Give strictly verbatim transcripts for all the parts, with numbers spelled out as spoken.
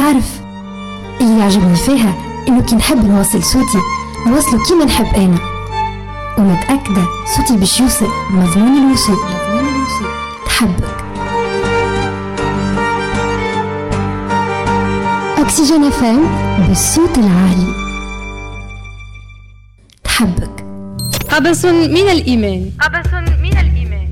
تعرف اللي يعجبني فيها إنه كي نحب نوصل صوتي نوصله كيما نحب أنا، ومتأكدة صوتي باش يوصل مضمون الوصول. تحبك أكسجين اف ام بالصوت العالي. تحبك. قبس من الإيمان. قبس من الإيمان.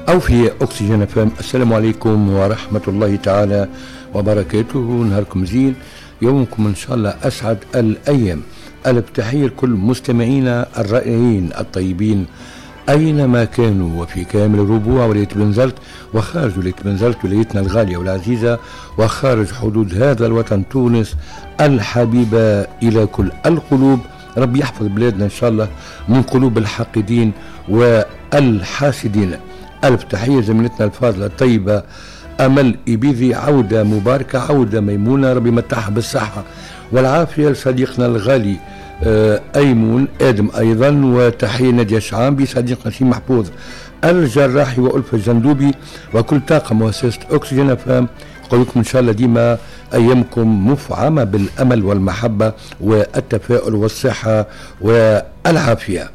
أو في أكسجين اف ام. السلام عليكم ورحمة الله تعالى وبركاته. نهاركم زين، يومكم إن شاء الله أسعد الأيام. ألف تحية لكل مستمعينا الرائعين الطيبين أينما كانوا، وفي كامل الربوع ولاية بنزرت وخارج ولاية بنزرت ولايتنا الغالية والعزيزة وخارج حدود هذا الوطن تونس الحبيبة إلى كل القلوب. رب يحفظ بلادنا إن شاء الله من قلوب الحاقدين والحاسدين. ألف تحية زميلتنا الفاضلة الطيبة أمل إبيذي، عودة مباركة، عودة ميمونة، ربي متعها بالصحة والعافية. لصديقنا الغالي أيمون آدم أيضا، وتحية نادية شعامبي، صديقنا سي محفوظ الجراحي وألفة الجندوبي وكل طاقم مؤسسة أكسجين أف أم. نقول لكم إن شاء الله ديما أيامكم مفعمة بالأمل والمحبة والتفاؤل والصحة والعافية.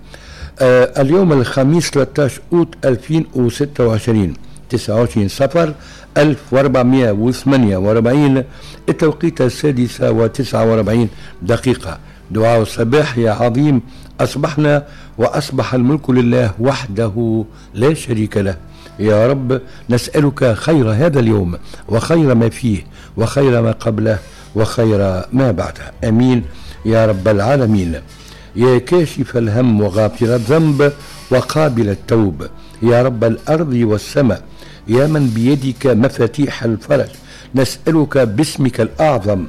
آه اليوم الخميس ثلاثة عشر أوت ألفين وستة وعشرين، تسعة وعشرين صفر ألف وأربعمائة وثمانية وأربعين، التوقيت السادسة وتسعة وأربعين دقيقة. دعاء الصباح: يا عظيم أصبحنا وأصبح الملك لله وحده لا شريك له. يا رب نسألك خير هذا اليوم وخير ما فيه وخير ما قبله وخير ما بعده، أمين يا رب العالمين. يا كاشف الهم وغافر الذنب وقابل التوب، يا رب الأرض والسماء، يا من بيدك مفاتيح الفرج، نسألك باسمك الأعظم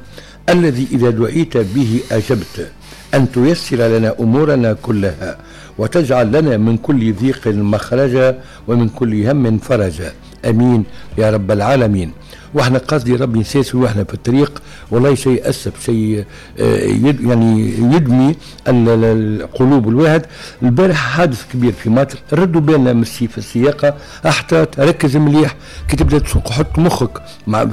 الذي إذا دعيت به أجبت، أن تيسر لنا أمورنا كلها وتجعل لنا من كل ضيق مخرجا ومن كل هم فرجا، أمين يا رب العالمين. واحنا قصدي ربي نساسي واحنا في الطريق، والله شيء أسف، شيء يعني يدمي القلوب الواحد. البارح حادث كبير في ماطر، ردوا بالنا من في السياقة، احتاط، ركز مليح كي تبدا تسوق، حط مخك مع